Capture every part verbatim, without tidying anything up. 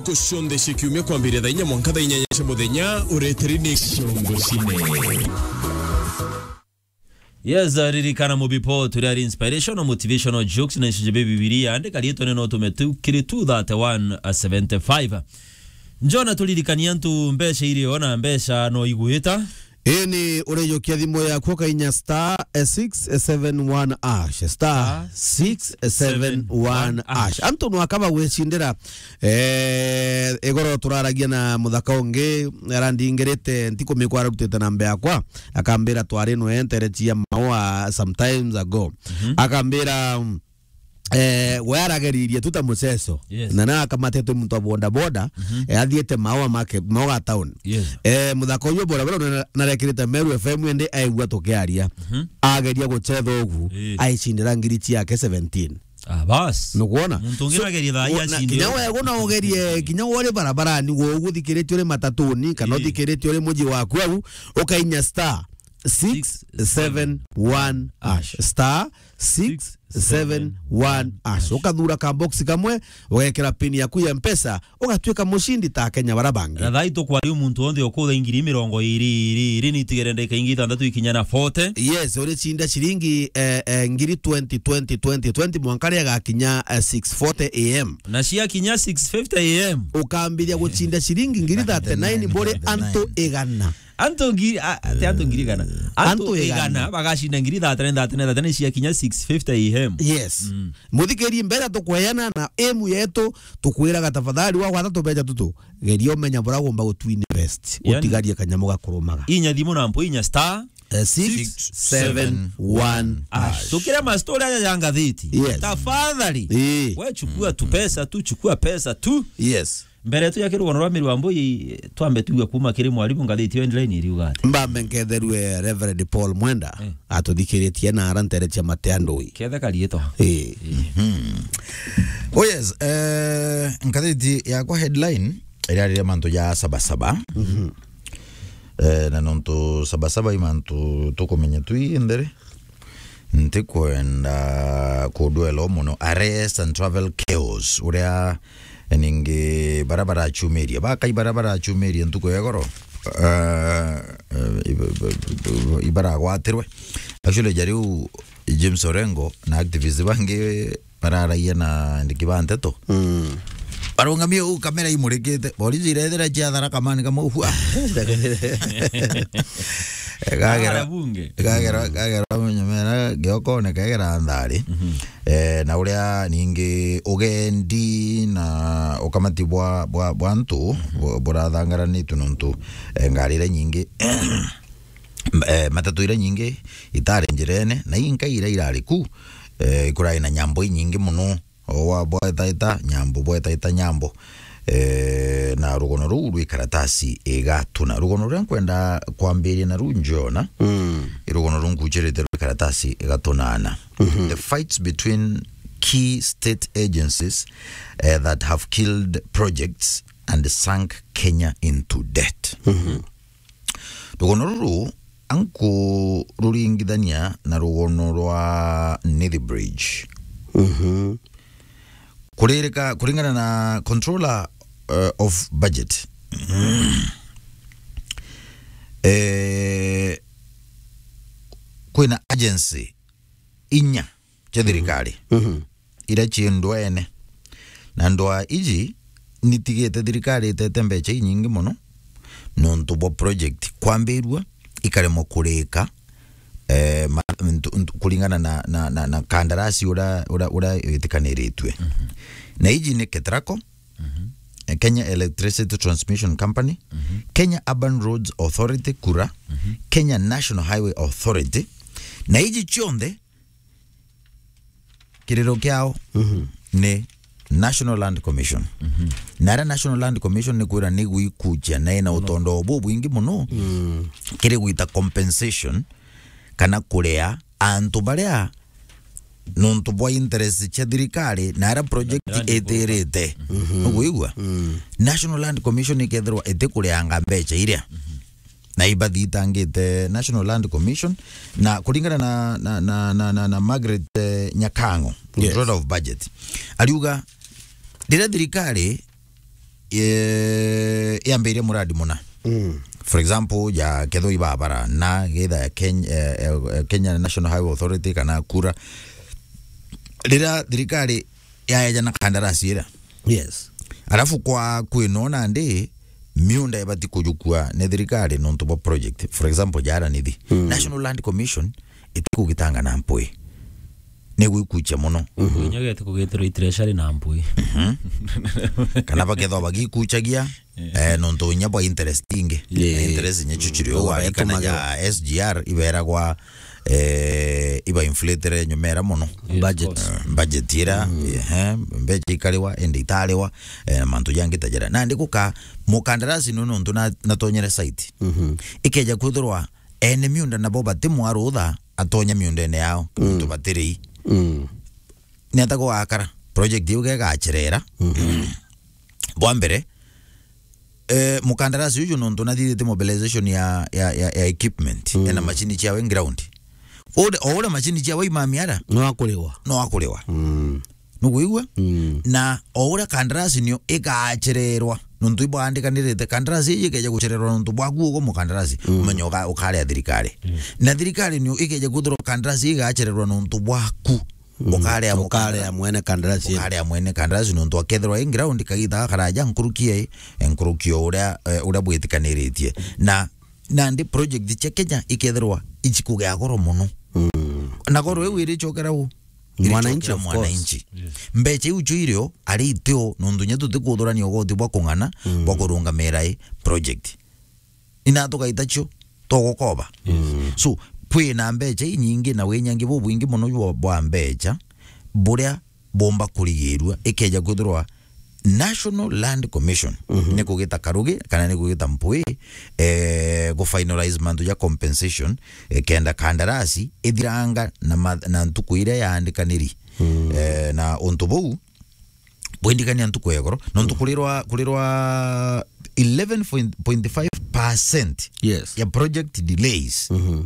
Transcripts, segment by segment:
Ntuku cionthe cia kiumia kwambiria thaa inya mwanka thaa inyanya cia muthenya, ureteri ni Ciongo Cine. Yes, ririkana Mubipo, turi ari inspirational, motivational jokes na icunjĩ bia Bibilia. Andika riitwa ni no tume tu kiri two thirty-one seventy-five. Njona turirikania antu mbeca iri o na mbeca no igwita. Ini urejokia thimu yaku ukainya star six seven one hash, star six seven one hash. Antu no akaba gwicindira, eh, igoro turaragia na muthaka ungi, arandingirite ntikumikwa ararutite namba yakwa, akambira twari no enterecia maua sometimes ago. Akambira, mm, eh, we arageririe tu ta muceco. Yes. Na na akamatetwe muntu wa boda boda, eh, athiete maua make, maua town. Yes. Eh, muthaka uyu boda boda na, narekirite Meru F M ende aigua tukiaria. Ageria gucetha ugu, aicindira ngiri ciake seventeen. Ah, bas. Nukwona? Muntu ungi nagerie thaa iria acindire. Kinya we guna ugerie, kinya we uri barabarani, we uguthikiritie uri matatuni, kana uthikiritie uri muji waku au, ukainya star six seven one hash. Star six seven one hash. Ukathura ka box kamwe, ugekira pin yaku ya Mpesa, ugatuika mucindi ta Akenya bara bangi. Na thaa ii tukwaria muntu wonthe ukutha ngiri mirongo iri, iri, iri, nitigere ndagika ingi ithantatu ikinya na forty. Yes, uricinda ciringi, eh, eh, ngiri twenty, twenty, twenty, twenty, mwanka ria gakinya, eh, six forty A M. Na ciakinya six fifty A M, ukambiria gucinda ciringi ngiri thirty-nine buri antu igana. Antu ngiri, a, ti antu ngiri igana. Antu igana bagacinda ngiri thirty-nine, thirty-nine, thirty-nine ciakinya six fifty A M. Yes. Muthikiri, mbeca tukweana na emu yetu, tukwiraga tafadhali, wagwata tubeca tutu, geria umenya bura ugomba gutu invest, utigarie kanyamu gakurumaga. Inya thimu na mpu inya star, eh, six seven one hash. Tukire mastori aja ya ngathiti. Yes. Tafadhali. We chukua tu pesa tu, chukua pesa tu. Yes. Mbere tu ya kirugono rwa Miru wa Mbui, twambe tuigue kuma kiri mwarimu ngathiti yo headline iriuga ati. Mbambe nketherue Reverend Paul Mwenda, atuthikiritie na ara ntere cia Matea Ndui. Kethe karietwa. Eh. Oh yes, eh, ngathiti yakwa headline irariria mantu ja Saba Saba. Eh, na nontu Saba Saba i mantu tukumenya twi ntheri. Ntikwenda kudwela mono. Arrest and travel chaos, uria ningi bara barachumiria, bakai bara barachumiria ntuku ya igoro, eh, eh, iba-, iba-, iba-, ibaragwatirwe. Actually, ja riu James Orengo na activist bangi bararagia na andiki ba nteto. Mm. Barungamie uu kamera imurikite. Borisi irethira cia Tharaka Man kamwe, hua. Gagera, gagera, gagera munyamera giokone kegera nthari. Eh, na uria ningi ugendi na ukamati bwa, bwa, bwa antu bu-, burathangaranitwe nontu, eh, ngari iria nyingi, eh, matatu iria nyingi itari njirene, na inkai iria irari ku, eh, ikurai na nyambo inyingi mono. O wa bwetaita nyambo, bwetaita nyambo. Eh, na rugono ruu rwi karatasi igatuna. Rugono ruria nkwenda kwambiria na ruu njona, mm, i rugono ruu nkuchirite rwi karatasi igatunana. The fights between key state agencies, eh, that have killed projects and sunk Kenya into debt. Rugono ruru ankururingithania na rugono rwa Nithi Bridge. Mhm. Kuririka-, kuringana na controller, uh, of budget, eh, kwina agency inya cia thirikari, mhm, iria cii ndwene. Na ndwaa iji nitigite thirikari itete mbeca inyingi mono nontu bwa project kwambirua ikaremwa kurika, eh, ma-, ntu-, ntu-, kuringana na, na, na, na kandarasi uria, uria, uria witikaniritue. Mhm. Na iji ni KETRACO, mhm, eh, Kenya Electricity Transmission Company, mhm, Kenya Urban Roads Authority, KURA, mhm, Kenya National Highway Authority, na iji cionthe kiriro kiao, mhm, ni National Land Commission. Mhm. Na aria National Land Commission ni kwira ni gwikuchia na ina utondo bubwingi mono, mm, kiri gwita compensation kana kuria antu baria nontu bwa interest cia thirikari na aria project itirite. Mhm. Nukwigua? Mm. National Land Commission ikethirwa itikurianga mbeca iria. Mhm. Na ibathitangite National Land Commission, na kuringana na, na, na, na, na, na Margaret, eh, Nyakango, yes, controller of budget, ariuga riria thirikari eh, yambiria muradi muna. Mm. For example, ya kethwa ibabara na getha ya Kenya, eh, eh, Kenya National Highway Authority kana KURA. Rira thirikari yaeja na kandarasi ira. Yes. Alafu kwa kwinona ndi, miunda ibati kujukua ni thirikari nontu bwa project. For example, jara nithi. Mm. National Land Commission itikugitanga na mpwi. Ni gwikucha muno. Inya gete kugitirwo i treasury na mpwi. Mhm. Kana bakethwa bagikuchagia, eh, nontu inya bwa interest ingi. Yeah. Interest inya chuchiri. Mm. Wa kana ya S G R iberagwa, eh, iba inflatere nyumera muno. Yes, budget. Of course. Eh, budget ira, mm, ehe, mbecha ikariwa, ende itariwa, eh, na mantu jangi ta jara. Na ndi guka mukandarasi no nontu na, natonyere site. Mhm. Ikeja kwithirwa ene miunda nabo bati mwarutha atonya miundene yao, mm, nontu batiri. Mm. Ni ata gwakara? Project iu gegacherera. Mhm. Bwa mbere, eh, mukandarasi uju nontu nathithite mobilization ya, ya, ya, ya equipment, mm, ena machine ciawe ground. Ore, o uria machine ciawe imamiara, no akuriwa. No akuriwa. Mm. Nukwigua? Mm. Na o uria kandarasi nio igachererwa, nontu ibwandikanirite, kandarasi iji ikeja guchererwa nontu bwaku ugo mukandarasi, mm, umenye uka-, ukarea thirikari. Mm. Na thirikari nio ikeja kwithirwa kandarasi igachererwa nontu bwaku. Mm. Ukarea, ukarea mwene kandarasi. Ukarea mwene kandarasi nontu akethirwa i ground kagita gakaraja nkuruki e, nkuruki o uria, eh, uria bwitikaniritie. Na, nandi project cia Kenya ikethirwa ichikugea goro muno. Mm. Na goro iu irichokera u? Mwananchi, irichokera of course. Mwananchi. Yes. Mbecha iu cio irio ari itio nontu nya tutikuthurania ugoti bwa kung'ana, mm, bwa kurungamira i project. Ina tugaita cio tugukoba. Yes. So, kwina mbecha inyingi na winyangi bubwingi muno bwa, bwa mbecha buria bomba kurigirua ikeja kwithirwa National Land Commission, mhm, ni kugita karugi kana ni kugita mpwi, eh, gu finalize mantu ja compensation, eh, kenda kandarasi ithiranga na ma-, na ntuku iria yaandikaniri. Mm. Eh, na untu buu bwindikania ntuku ya igoro, nontu, mm, kurirwa, kurirwa eleven point five percent, yes, ya project delays. Mhm.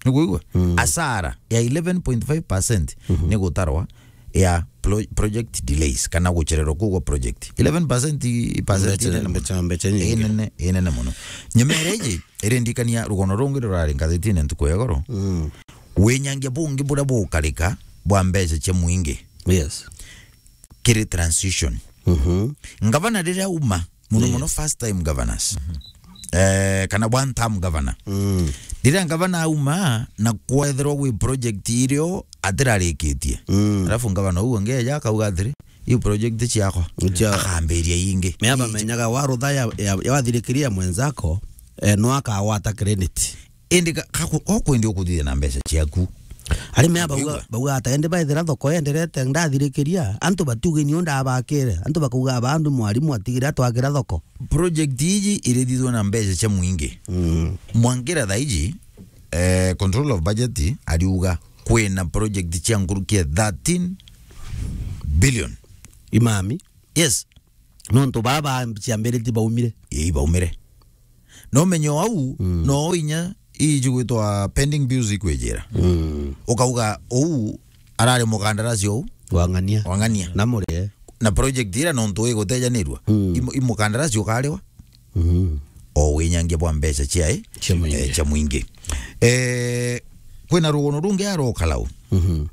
Ni kuigua? Mm. Asara ya eleven point five percent, mhm, ni gutarwa ya pro-, project delays, kana guchererwa kuu gwa project. Eleven percent i, i percent mbecha, inene muno. Mbecha, mbecha nyingi. Inene, inene muno. Nyemere iji, irindikania rugono rungi rurari ngazetine ntuku ya igoro. Mm. Winyangia bungi buria bukarika bwa mbecha cia mwingi. Yes. Kiri transition. Mhm. Ngavana riria uma, muno, yes, muno first time governors. Mhm. Eh, kana one term governor. Mm. Riria ngavana auma na kwethirwa gwi project irio atirarikitie. Mm. Alafu ngavana uu angeja akauga atiri, "Iu project ciakwa." Cia- Akambiria ingi. Mea bamenyaga warutha ya, ya, ya wathirikiria mwenzako, eh, no akawata credit. Indi ka-, ka-, ko kwendi ukuthithia na mbecha ciaku. Arimi aba bauga, bauga ata, indi baithira thoko yenderete, ndathirikiria, antu batiuge nio ndabakire, antu bakauga, "Aba andu mwarimu atigire atwakira thoko." Project iji irithithwa na mbecha cia mwingi. Mm. Mwangira thaiji, eh, control of budget ariuga kwina project cia nkuruki ya thirteen billion. Imami? Yes. Nontu baba ciambiriti baumire. Ii, baumire. No menyo au, mm, no inya iji gwitwa pending bills ikwijira. Mm. Ukauga uu arari mukandarasi uu? Wang'ania. Wang'ania. Na murie. Na project ira nontu igutejanirua. Mm. Imu-, imukandarasi ukariwa. Mm. O winyangia bwa mbecha cia, eh? Cia mwingi. Eh, cia mwingi. Eh, kwina rugono rungi arokalau. Mhm.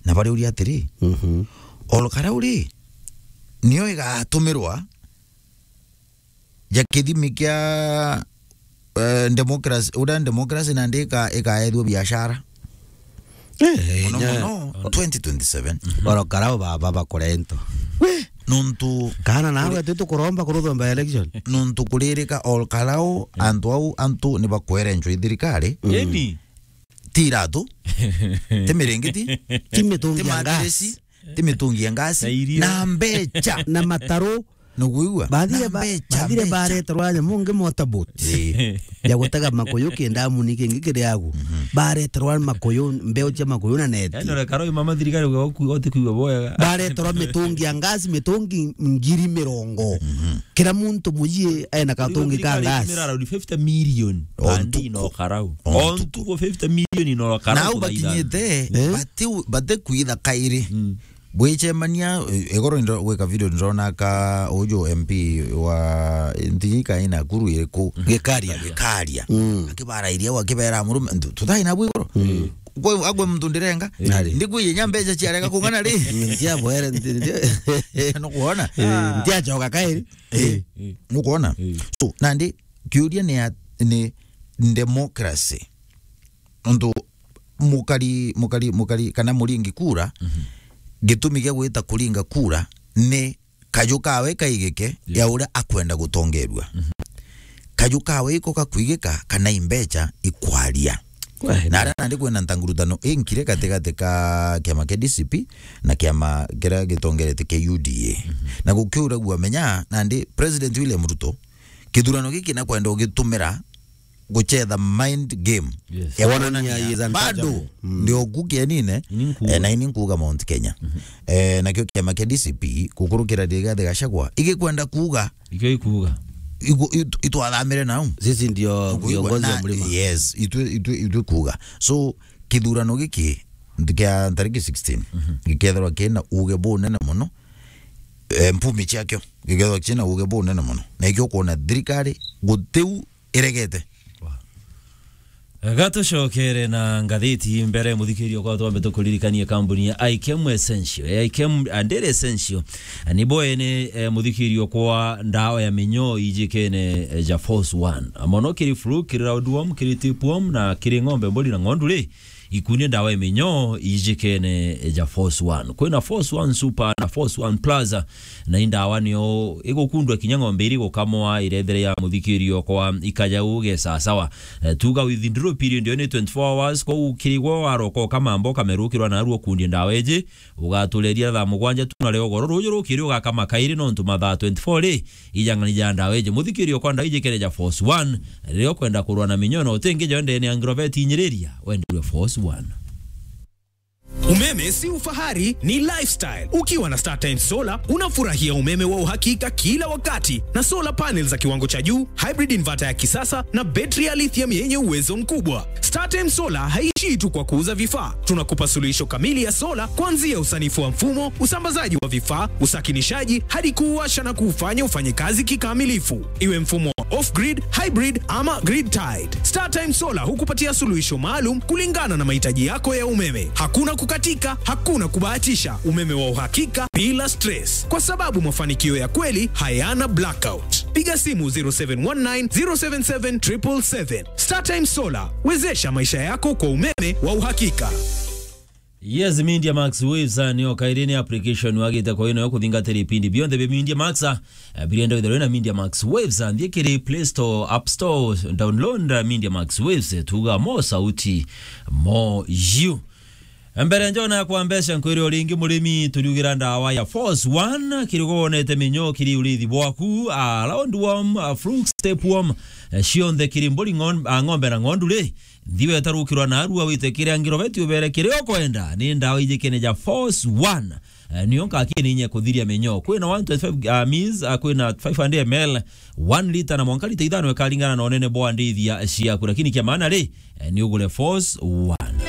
Na bariuria atiri, mhm, orokarau ri, nio igatumirwa ja kithimi kia, eh, democracy, uria democracy nandi ika-, ikaethua biashara. Eh, muno inya muno twenty twenty-seven. Orokarau baba bakore into. Nontu kana nawe tu tukuromba kuruthomba election. Nontu kuririka orokarau, mm, antu au, antu ni bakwerenchwa i thirikari. Mm. Eni. Ti iratu, ti miringiti, ti mitungi ya gas, ti mitungi ya ngasi, na irio, na mbecha. Na mataru. Nukuigua? Bathire na ba-, mbecha, bathire mbecha. Bareterwa nyamu ngi motorboat. Ii. Ya gutega makuyu kindamu ni kingi kiri agu. Mhm. Bareterwa makuyu, mbeu cia makuyu na neti. Yaani, ore karo mama thirikari uga oku-, otikuigua boya. Bareterwa mitungi ya ngasi, mitungi ngiri mirongo. Mhm. Kira muntu mujie ena katungi ka ngasi. Mirara fifty million. O ntuku. Andi no karau. O ntuku. O ntuku fifty million no karau. Nau bakinyite, eh? Bati, bati kwitha kairi. Mm. Bwicemania, e-, igoro ndo-, gwika video ndona ka uju M P wa ntiji kaina kuru iriku. Gikaria. Gikaria. Mm. Akibarairia au akibera murume, "Ntu-, tuthai na bwigoro." Mm. Gwe, agwe muntu ndirenga. Nari. Ndikwiye nya mbeca ciarega kung'ana ri? Ntiabwere, nti-, nti-, Nukwona? Eh, ntiacoka kairi. Eh, nukwona? Eh. So, nandi, kiuria ni ya, ni democracy. Nontu mukari, mukari, mukari, kana muringi kura, mhm, gitumi gia gwita kuringa kura ni kaju kawe kaigike, yeah, ya uria akwenda gutongerua. Mhm. Kaju kawe iko gakuigika kana imbeca ikwaria. Kweli. Na aria nandi kwina ntangurutano inkire gatigati ka kiama kia D C P na kiama kiria gitongerete kia U D A. Mhm. Na gukiuragua menya nandi President William Ruto kithurano giki nakwenda ugitumira gucetha mind game. Yes. Ya kuonania he is untouchable. Bado, mm, ndio kukienine, ini nkuga, eh, na ini nkuga Mount Kenya. Mhm. Eh, nakio kiama kia D C P, kukurukira Rigathi Gachagua, igikwenda kuuga. Ikio ikuuga. Igu-, itu-, itwathamire nau. Sisi ndio viongozi wa mlima. Yes, itwe, itwe, itwe kuuga. So, kithurano giki, kia tariki sixteen, mhm, gikethirwa kina uge bunene muno, eh, mpumi ciakio, gikethirwa kina uge bunene muno. Na ikio kuona thirikari, gutiu iregete. Wow. Gatucokere na ngathiti mbere, muthikiria, kwa twambe tukuririkanie kambuni ya Ikem Essential. Ya Ikem and Essential. Ni bo ene, eh, muthikiria kwa ndawa ya minyoo ijikene, eh, ja Force One. Mono kiri flu, kiri roundworm, kiri tapeworm, na kiri ng'ombe, mburi na ng'ondu ri, ikunie ndawa ya minyoo ijikene, eh, ja Force One. Kwina Force One Super na Force One Plus. Na i ndawa nio igukundwa kinya ng'ombe iri gukamwa irethere ya muthikirio kwa ikajau ge sasawa. Eh, tuga withdrawal period yo ni twenty-four hours, kwou kirigwo waroka ukamamba ukamerukirwa narua ukundie ndawa iji, ugatureria thaa mugwanja tu na rio goro ruju rukiri ugakama kairi nontu mathaa twenty-four ri, ijang'ani ja ndawa iji. Muthikirio kwa ndawa iji kere ja Force One, riria ukwenda kurwa na minyoo na utingi jo ndene ya Agrovet inyiriria, wenderwe Force One. Umeme si ufahari, ni lifestyle. Ukiwa na StarTimes Solar, unafurahia umeme wa uhakika kila wakati, na solar panels za kiwango cha juu, hybrid inverter ya kisasa, na betri ya lithium yenye uwezo mkubwa. StarTimes Solar haishii tu kwa kuuza vifaa. Tunakupa suluhisho kamili ya solar, kuanzia usanifu wa mfumo, usambazaji wa vifaa, usakinishaji, hadi kuuwasha na kuufanya ufanye kazi kikamilifu. Iwe mfumo wa off-grid, hybrid, ama grid-tied, StarTimes Solar hukupatia suluhisho maalum kulingana na mahitaji yako ya umeme. Hakuna kukatika, hakuna kubahatisha. Umeme wa uhakika bila stress, kwa sababu mafanikio ya kweli hayana blackout. Piga simu zero seven one nine, zero seven seven, triple seven. StarTimes Solar, wezesha maisha yako kwa umeme wa uhakika. Yes, Media Max Waves, ah, nio kairi ni application wagite kwa ino yo kuthingatira ipindi bionthe bia Media Max, ah, eh, birienda withirwe na Media Max Waves, ah, nthie kiri Play Store, App Store, download, ah, Media Max Waves, eh, tuga mo sauti, mo you. Mbere njona kwa mbeca nkwire o ringi murimi turiugira ndawa ya Force One, kirigo wonete minyo kiri urithi bwaku, ah, roundworm, ah, flukes, tapeworm, eh, cionthe kiri mburi ng'on-, ah, ng'ombe na ng'ondu ri, Nthiwe tarukirwa narua wite kiria ngiroveti ubere kiria ukwenda. Ni ndawa ijikene ja Force One. Eh, nio nkakini inye kuthiria minyo. Kwina one twenty-five, ah, mils, ah, kwina five hundred M L, one liter na mwanka lita ithano ikaringana na unene bwa ndithia ciaku. Lakini kia maana ri, eh, ni ugure Force One.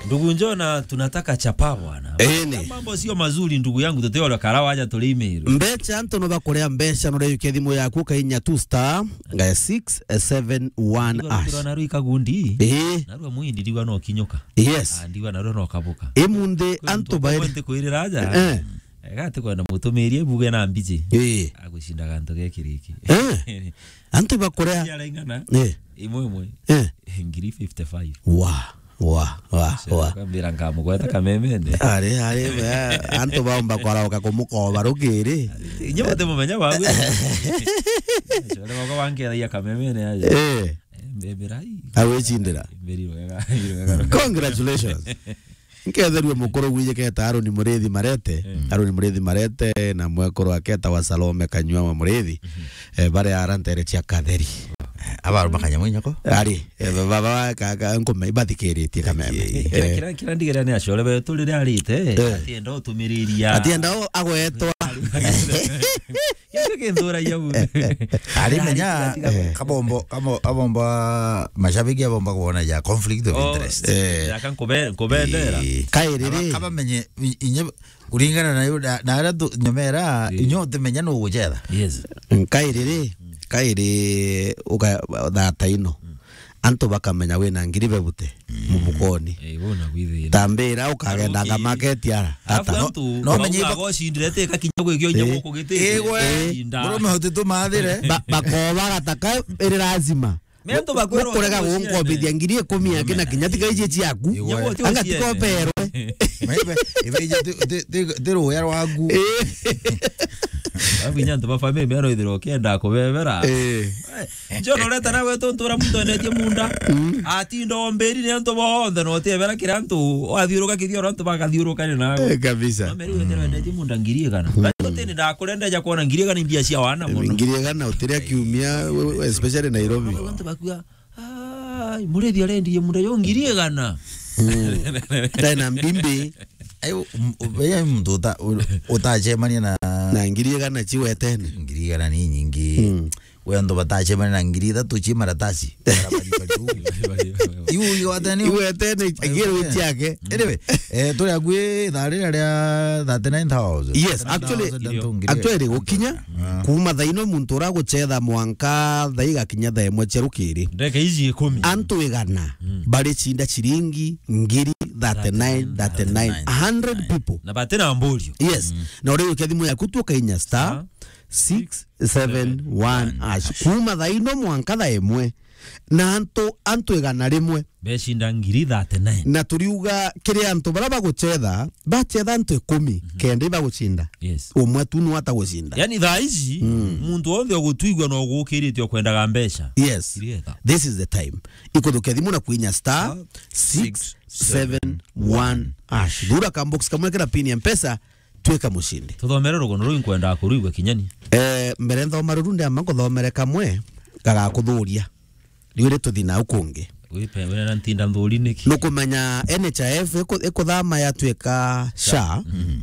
Ndugu Njona, tunataka chapa bwana. Ene. Mambo sio mazuri ndugu yangu, tuteole karawa aja tuli email. Mbeca, antu no bakurea mbeca, no reyukia thimu yaku, ukainya tu star six seven one hash. Ndio na rui kagundi. Eh. Na rua mwindi ndigwa no kinyuka. Yes. Ah, ndigwa na rua no kabuka. Imunthi antu bairi. Kwente kwirira aja. Eh. Ega ati kwenda mutumirie buge na mbiji. Eh. Agushinda gantu gekiriki. Eh. Antu bakurea. Cia raingana. Eh. Imwe imwe. Eh. Ngiri fifty-five. Wa, wa, wa, wa. Kambira nkamugweta kamemene. Ari, ari, eh, antu baumba kwarauka kumukoba rukiri. Inye bate mumenya bawe. Chole bako bankethagia kamemene aja. Eh. Mbeberai. Awicindira. Mberi rwega, rwega. Congratulations. Nketherue mukuru gwijiketa Aroni Murithi Marete. Mm. Aroni Murithi Marete na mwekuru aketa wa Salome Kanyua wa Murithi. Mhm. Eh, baria ara ntere cia Katheri. Eh, Abaru makanya mwinyoko. Ari, eh, ba-, ba-, ba-, ka-, ka-, nkome ibathikiritie kameme. Ii. Kira, eh, kira, kira ndigere ni acore betu riria arite, eh, atienda utumiriria. Atienda u-, agwetwa. Giki kinthuragia bure. Ari menya, tiga, tiga, eh, kabombo, kabo-, abomba, mashabiki abomba kuona ya conflict of interest. Eh. Aka nkube-, nkubendera. Ii. Kairi ri. Aba-, kaba menye, i-, inye, kuringana na yu, na, na aria tu-, nyomera, ii, inyo utimenya nu gucetha. Yes. Kairi ri, kairi uka-, thata ino. Mm. Antu bakamenya wina ngiri bebute, mm, mubukoni. Eh, bona gwithira. Tambira ukagenda, okay, nga market ara. Alafu tata. No, antu no menye bauga iba- gocindire te kakinya gwikia unya, eh, guku giti. Eh, we, inda. Murume uti tumathire. Ba-, bakoba gataka iri lazima. Me antu bakwirwa kurega gucia gunkobithia ngiri ikumi yake na kinya tiga iji ciaku. Iwe. Anga tikoberwe. Maibe, ibe ije ti, ti, ti, ti ruya rwaku. Eh. Alafu inya antu ba family mero ithiro kenda kubebera. Eh. John, ureta nawe tu ntura muntu endetie munda. Mm. Atinda omberi ni antu bonthe, no utebera kira antu, wathiuruka kithioro antu bakathiuruka ni nawe. Eh, kabisa. No meri wetera endetie munda ngiri igana. Mm. Basi utini ndakurendeja kuona ngiri igana imbia cia wana muno. Ngiri igana utiria kiumia, we-, we-, especially Nairobi. Antu bakua, "Ai, murithi arendie munda yo ngiri igana." Mm. Tena mbimbi. Ai, u-, u-, u-, muntu uta-, u-, utacemania na, na ngiri igana ciwetene. Ngiri igana ni nyingi. Mm. We antu batacemania na ngiri ithatu ci maratasi. Iu iwatene. Iwetene, agire witi yake. Anyway, eh, turi akui thaa riria ria thirty-nine thousand. Yes, actually, thirty-nine thousand antu ngiri. Actually, gukinya, ah, kuma thaa ino muntu uragucetha mwanka thaa igakinya thaa imwe cia rukiri. Ndeke iji ikumi. Antu igana, mm, baricinda ciringi ngiri thirty-nine, thirty-nine, a hundred people. Na batina mburio. Yes. Mm. Na uri ukia thimu yaku tu ukainya star, star six seven one hash. Kuma thaa ino mwanka thaa imwe. Na antu, antu igana rimwe. Becinda ngiri thirty-nine. Na turiuga kiri antu baria bagucetha, bacetha antu ikumi, mhm, kenda ibagucinda. Yes. Umwe tu nu atagucinda. Yani thaa ici, mm, muntu wonthe ugutwigua no gukirite ukwendaga mbeca. Yes. Kirietha. This is the time. Ikuthukia thimu na kwinya star, star six seven one hash. Thura ka box kamwe kena pin ya Mpesa, twika mucindi. Tuthomere rugono ruu, nkwendaga kurwigua kinyani. Eh, mbere nthoma ruru, ndiamba nkuthomere kamwe gagakuthuria. Riu ri tuthi nau kungi. Wipe, wina ntinda nthuri niki? Nukumenya N H I F iku-, ikuthama yatwika sha, mhm,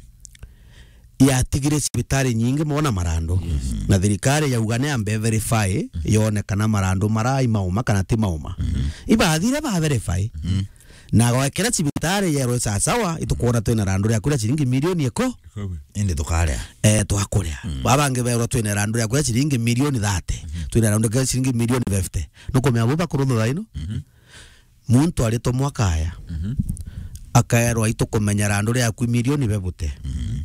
yatigire cibitari nyingi mono na marandu. Yes. Na thirikari yauga ni ambe verify, mhm, yone kana marandu mara i mauma kana ti mauma. Mhm. Ibathire ba verify. Mhm. Na gwekira cibitari yerwe sasawa, itukwona twina randu ria kuria ciringi milioni iko. Indi tukaria. Eh, twakuria. Mm. Babangi berwa twina randu ria kuria ciringi milioni thirty. Mhm. Twina randu ria kuria ciringi milioni fifty. Nukumenya bo bakurutha thaa ino? Mhm. Muntu aritumwa akaya. Mhm. Akaerwa, "Itukumenya randu riaku milioni bebute." Mhm.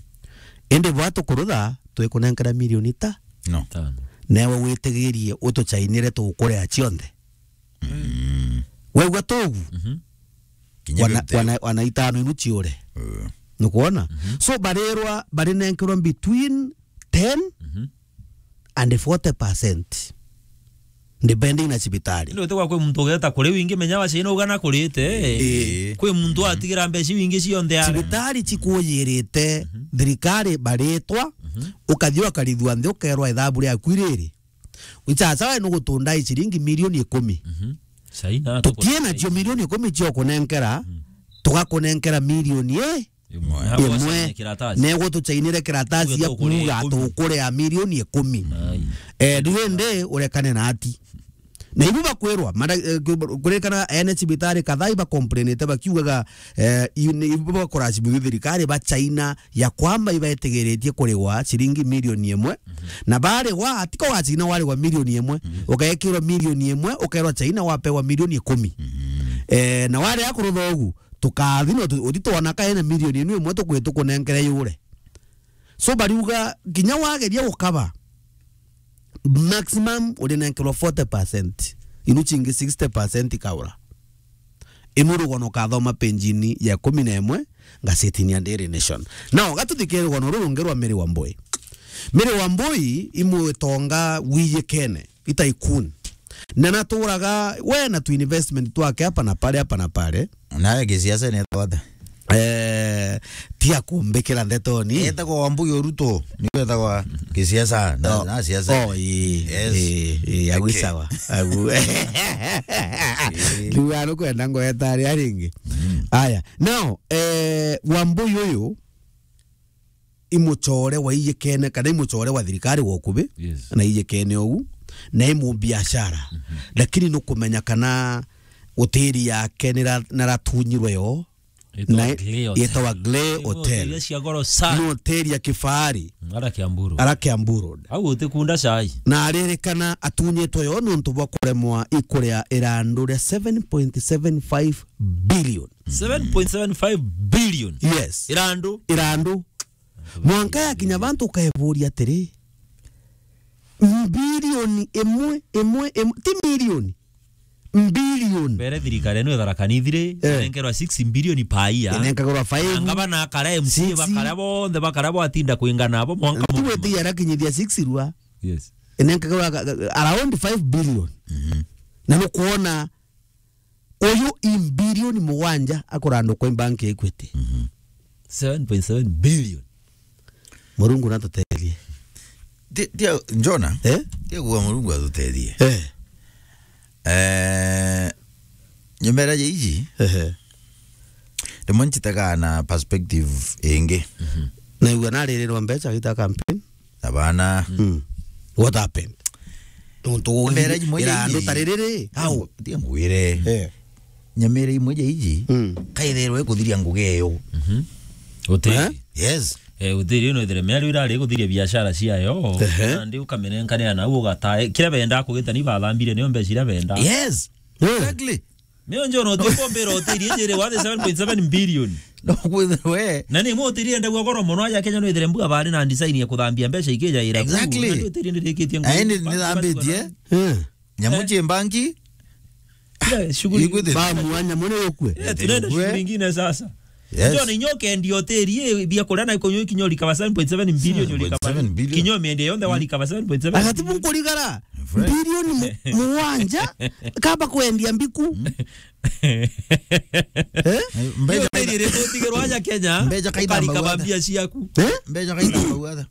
Indi bwa tukurutha, twikunenkera milioni ta? No. Tano. Newe witigirie utuchainire tukuria cionthe. Mm. Waigua tugu? Mhm. Kinya wana, fifty. Wana, wana itano inu ciure. Mm. Nukwona? Mhm. So, barirwa, barinenkerwa between ten, mhm, and forty percent. Depending na cibitari. Ndio utegwa kwi muntu ugeta kuri wingi, menya wacaina ugana kurite. Ii. Kwi muntu, mhm, atigira mbeca wingi cionthe ara. Cibitari cikuyirite, mhm, thirikari baritwa, mhm, ukathi ukarithua nthi ukerwa ithabu riaku riri. Wichacha we nugutunda i ciringi milioni ikumi. Mhm. Saina. Tutie nacio milioni ikumi cio kunenkera, mhm, tugakunenkera milioni i-, imwe. Imwe. Neguo tuchainire kiratasi. Tuge ya tukuria kuuga ikumi. Tukuria milioni ikumi. Ai. Eh, riu indi urekane na ati. Na ibu bakwirwa, mara-, eh, ku-, kuririkana ene cibitari kadhaa iba complainite bakiugaga, eh, i-, ni ibu bakora cibu thirikari ba China ya kwamba ibetigiritie kurigwa ciringi milioni imwe, mhm, na barigwa, tiko wa China warigwa milioni imwe, mhm, ukekirwa milioni imwe, ukerwa China wapewa milioni ikumi. Mhm. Eh, na wari akurutha ugu, tukathi no tu-, uthi twona ka ena milioni inu imwe tukwi tukunenkere yure. So bariuga, kinya wageria gukaba, maximum urinenkerwa forty percent, inu cingi sixty percent ikaura. Inu rugono kathoma penjini ya ikumi na imwe ngazetini ya Daily Nation. Now, gatuthikire rugono ruru rungi rwa Mary Wambui. Mary Wambui imwitonga wiyikene, i tycoon. Na naturaga we na tu investment twake hapa na pale, hapa na pale. Nawe gisiasa ni etagwa ata? Eh, tia kumbikira ndetoni. Etagwa Wambui Oruto, niwe etagwa kisiasa, na, Oh, na siasa. Oh, ii, Yes. Ii, ii, agu Okay. Sawa. Agu. Riu arukwenda ngweta aria ringi. Mm. Aya. Now, eh, Wambui uyu, imuchore waiyikene, kana imuchore wa thirikari wa ukubi, Yes. na iyikene ugu, na imu biashara. Mhm. Lakini nukumenya kana utiri yake nira-, naratunyirwe yo, Itawa na Glee Hotel. Itawa Glee Ni Hotel. Hotel cia goro sana. Ni hotel ya kifahari. Mm, ara Kiambu Road. Ara Kiambu Road. Au utikunda chai. Na aririkana atunyitwe yo nontu bwa kuremwa ikuria irandu ria seven point seven five billion. Seven point seven five billion. Yes. Irandu. Irandu. Mwanka yakinya bantu ukaeburia atiri, mbilioni imwe, imwe, imwe, ti milioni. Mbilioni. Mbere thirikari ino ya Tharaka Nithi ri, Eh. inenkerwa six billion per year. Inenkagirwa five. Na ngavana akara, M C A Six. bakara bonthe, bakara bwatinda kwingana abo mwanka mugima. Tigwetigia arakinyithia six rua. Yes. Inenkagirwa ga-, ga-, around five billion. Mhm. Na nukwona uyu i mbilioni mugwanja akurandukwa i bank ya Equity. Mhm. Seven point seven billion. Murungu natuteethie. Ti-, tia, Jona, Eh? tia kuga Murungu atuteethie. Eh. Eh, nyumera ya iji, Ehe. rimwe njitaga na perspective ingi. Mhm. Naigua naririrwa mbeca gita campaign. Abana. Mm. What happened? Nontu Mbera imwe ya irandu iji. Ta ririri, au? Tia ngwire. Eh. Nyamira imwe ya iji, Mm. kaithirwe ikuthiria ngugi iyo. Mhm. Hoteli. Eh? Yes. Eh, hoteli ino ithire miario irari ikuthiria biashara ciayo. Ehe. Nandi ukamenenkanira nau ugatae. Kiria bendaa kugita ni bathambire nio mbeca iria bendaa. Yes. Eh. Exactly. Nio njono utikombira hoteli iji iri worth seven point seven billion. No kwithirwe. Na ni imwe hoteli endagua goro mono aja Kenya no ithire mbua bari na design ya kuthambia mbeca ikijaira kuu. Exactly. Na ndio hoteli ndirikitie ngugi. Aende nithambitie. Eh. Nyamu Eh. cie mbanki. Kila shughuli. Ikwithirwe. Ba mwanya mune ukue. Eh, tunaenda Ikue. shughuli ingine sasa. Yes. Ndio ni nyoke ndio hoteli ye bia kuria na kunyo kinyo likaba seven point seven billion. Seven point seven billion. Kinyo miende yonthe wa likaba seven point seven. Agatibu nkurigara. Friend. Bilioni mu-, mugwanja, kaba kwendia mbiku. Eh? Mbeca Hiyo kaita-, hoteli iri utigirwa aja Kenya, mbeca kaita ukarika mbauga mbia ciaku. Eh? Mbeca kaita mbauga.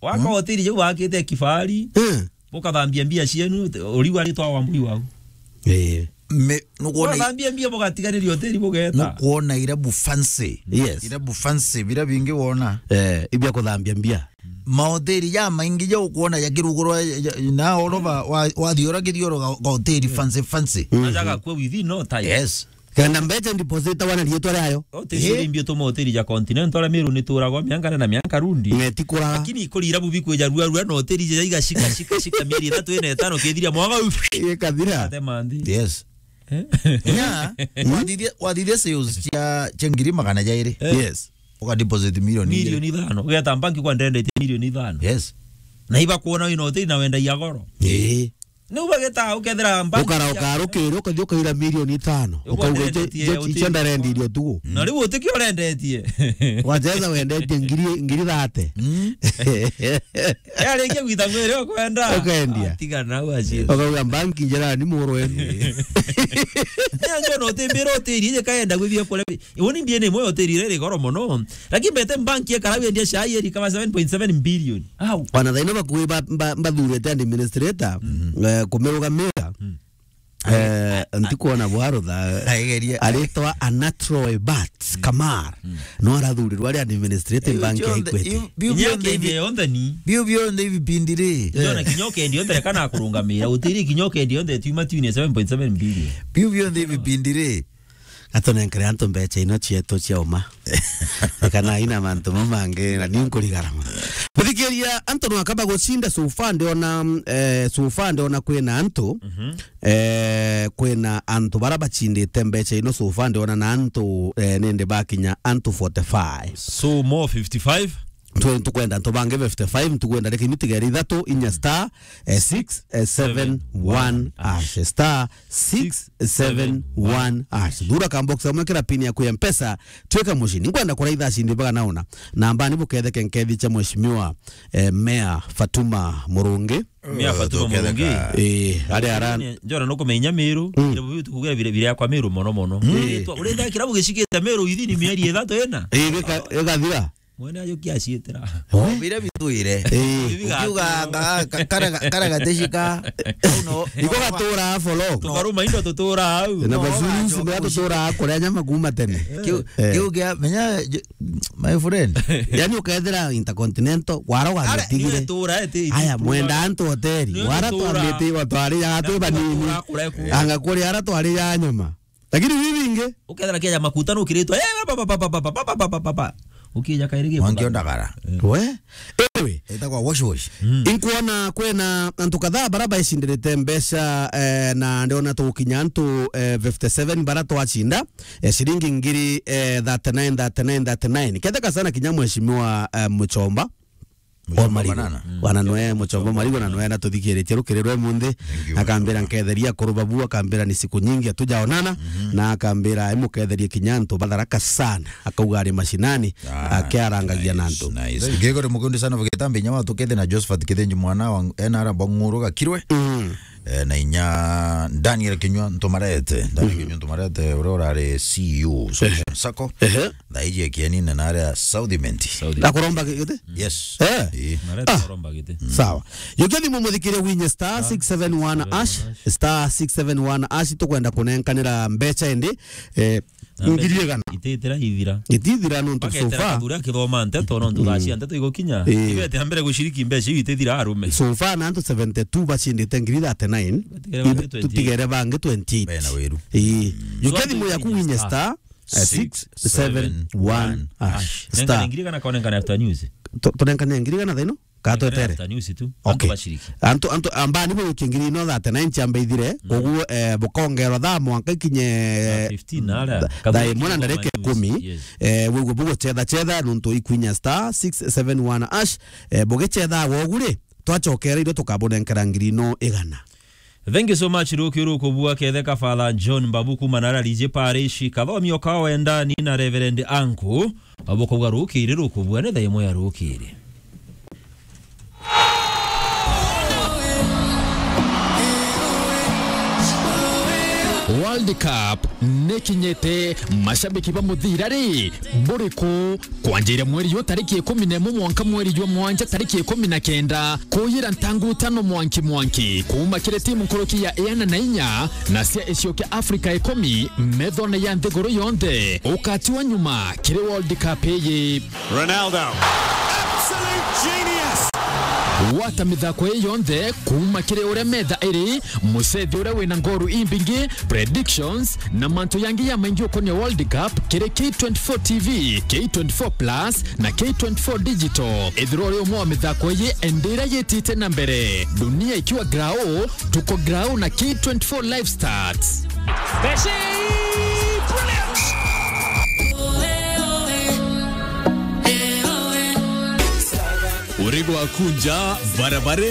Waka Hmm? hoteli jau wakite kifahari, Eh. ukathambia mbia cienu, uriu aritwa Wambui wau. Eh. Me-, nukwona i-, Ukathambia mbia, bugatigariria hoteli, bugeta. Nukwona irabu fancy. Yes. Irabu fancy, bira bingi wona. Eh, ibia kuthambia mbia. Mahoteli jamaingi ja ukwona jakirugurwa ja, ja, na oroba wa, wathii ura kithioro ga, ga hoteli fancy, fancy. Mm. Majaga kua within no time. Yes. Kenda mbeca deposit wana rietwa riayo. Hoteli Eh. iri mbi utuma hoteli ja Continental, Meru ni turagwa mianka na mianka rundi. Ng'eti kuraga. Lakini ikurira bubi kwija rua rua na hoteli ja iga shika, shika, shika mieri ithatu ina itano kithiria mwaga u-, Ikathira. Ate manthi. Yes. Eh? Nya, wathithia, wathithia sales cia, cia ngiri magana jairi. Eh. Yes. Uka deposit milioni igiri. Milioni ithano. Ugeta mbanki kwa ndendetie milioni ithano. Yes. Na ibakuona wina hoteli na wendagia goro. Ii. Niu bageta ukethira mbanki Ukara cia ukarukira, ukathi ukaira milioni itano. Uka Ukauga, ndendetie "Je, je, hoteli icio ndarendirie utugu." Na riu utikio urendetie. Wacheza wendetie ngiri, ngiri thate. Mm. Arikia gwita ngwire ukwenda. Ukendia. Atiga nau aci. Ukauga, "Mbanki njirani muru wenu." Nio njono utimbira hoteli ije kaenda gwithia kure. Uni mbie ni mwe hoteli ire ri goro mono. Lakini mbete mbanki ekara wendia chai eri kama seven point seven billion. Au. Wana thaino bakui ba, ba, bathurite administrator, Mm. eh, kumirugamira. Mm. Eh, ntikwona bwarutha. Aigeria. Aritwa Anatro Ebat Kamar. Mm. No arathurirwa ari administrative bank ya Equity. Biu, biu, biu, Inya bionthe kendi ibi-, yonthe ni. Biu bionthe ibipindi ri. Ndio na kinyo kendi yonthe kana kurungamira. Utiri kinyo kendi yonthe tiuma tune seven point seven billion. Biu bionthe ibipindi ri. Atunenkere antu mbeca ino cietu cia uma. Kana ina mantu mau mangi, na ni nkurigara mono. Kuthikiria antu no akaba gucinda so far ndiona, eh, so far ndiona kwina antu, Mhm. eh, kwina antu bara bacindite mbeca ino so far ndiona na antu, eh, nindi bakinya antu forty-five. So more fifty-five? twe-, tukwenda antu bangi fifty-five, tukwenda reke ni tigere ithatu, inya star, eh, six seven one hash, star six seven one hash. Thura ka box kamwe kira pin yaku ya Mpesa, twika mucini. Nkwenda kuraitha acindi bagana una. Namba ni buketheke nkethi cha mheshimiwa, eh, Mayor Fatuma Murungi. Mia Fatuma Murungi. Eh, ari ara- Ni, njora nukumenya Meru, Mm. kirabu biu tukugira bire, bire yakwa Meru mono mono. Mm. Uritwa, uritha kirabu gicikite Meru ithini mieri ithatu ina. Eh, gika-, gikathira. Mwene ajukia acitira. Oh, bire bitwire. Eh. Bibi Ukiuga gatu- nga-, ka-, kara, kara gatecika. Uno, Iko gatura folo. Tukaruma indo tutura au. Na No, bazuru gacoka ucio tutura kuria nyama kuma tene. Kiu, Eh. kiu kia, menya, j-, my friend. Yani ukethira Intercontinental, wara Ara, wagitigire. Niwe tura, eti, Aya, itura. Mwenda antu hoteli. Niwe Wara tura. Twambite iwa twari ya twi banini. Tura kure ku. Anga kuri ara twari ya nyama. Lakini bibi ingi. Ukethira kia makuta nukiritwe. Eh, pa, pa, pa. Ukija kairi gi Mwangi ondagara. We? Ewe. Etagwa wash wash. Inkuona kwina antu kadhaa bara baicindiritie mbeca, eh, na ndiona tugukinya antu, eh, fifty-seven bara twacinda, eh, ciringi ngiri, eh, thirty-nine, thirty-nine, thirty-nine. Ketheka sana kinya mheshimiwa, eh, Muchomba. Muchomba Marigo. Banana. Bana noe Muchomba Marigo na noe na tuthikiritie rukiri rwe munthi. Thank you, akambira Muchomba. Nketheria kurubabu, akambira ni siku nyingi hatujaonana, na akambira imuketherie kinya antu batharaka sana. Akauga ari mashinani, akiarangagia na antu. Nice, nice. Ngigore mukundi sana vugitambe inya watu kete na Josephat Kithinji mwana wa N R Bong'uru Gakirwe. Mm. Eh, na inya Daniel Kinyua Ntumarete. Daniel Kinyua Ntumarete, uria urari C E O Solution Sacco. Ehe. Thaiji ekienine na aria South Imenti. South Imenti. Akuromba giti? Yes. Eh. Ii. Marete Ah. kuromba giti. Sawa. Yukia thimu muthikirie winye star six seven one hash, star six seven one hash, tukwenda kunenkanira mbeca indi, eh, Na ngiri mbeca igana. Itithira ithira. Itithira nontu so Baketera far. Kathuri akithoma nteto, nontu thaa cia nteto igukinya. Ii. Ibete ambere guciriki mbeca iu itithira arume. So far na antu seventy-two bacindite ngiri thirty-nine. Batigere bangi twenty-eight. Tutigere bangi twenty-eight. Bena wiru. Ii. Yukia thimu yaku winye star, eh, six seven one hash. Nengane star. Ngiri igana ka nengane after news? Tu-, tunenkane ngiri igana thaa ino? Ka twetere? After news tu. Okay. Antu baciriki. Antu, antu, amba ni bwikie ngiri ino thirty-nine ciambe ithire. Koguo, eh, bukongerwa thaa mwanka ikinye thaa fifteen na aria. Tha-, thaa imwe na ndarika ikumi. Yes. Eh, wigwe bugucetha cetha nontu ikwinya star six seven one hash. Eh, bugicetha wogu ri, twacokera irio tukabunenkera ngiri ino igana. Thank you so much, Ruki Rukubua, ketheka Father John Mbabu kuma na Rariji Parish, Kathomi Okao Endani na Reverend Anku. Abo kauga rukiri rukubua ni thaa imwe ya rukiri. World Cup nikinyite, mashabiki ba muthira ri, buriku? Kwanjira mweri yu tariki ikumi na imwe mwanka mweri jwa mwanja tariki ikumi na kenda, kuyira ntangu tano mwanki mwanki, kuuma kiri timu nkuruki ya iana na inya na cia icio kia Afrika ikumi, methone ya nthiguru yonthe, ukatiwa nyuma kiri World Cup iyi. Ronaldo. Absolute genius. Gwata mithako ii yonthe kuuma kiri uria metha iri, mucethi uria wina ngoru imbingi, predictions, na mantu yangi ya maingi ukonia World Cup kiri K twenty-four T V, K twenty-four Plus, na K twenty-four Digital. Ethirwa uri umwe wa mithako iyi, enda iria yitite na mbere. Dunia ikiwa grao, tuko grao na K twenty-four Live Stats. Messi! Brilliant! Uri gwaku nja, barabara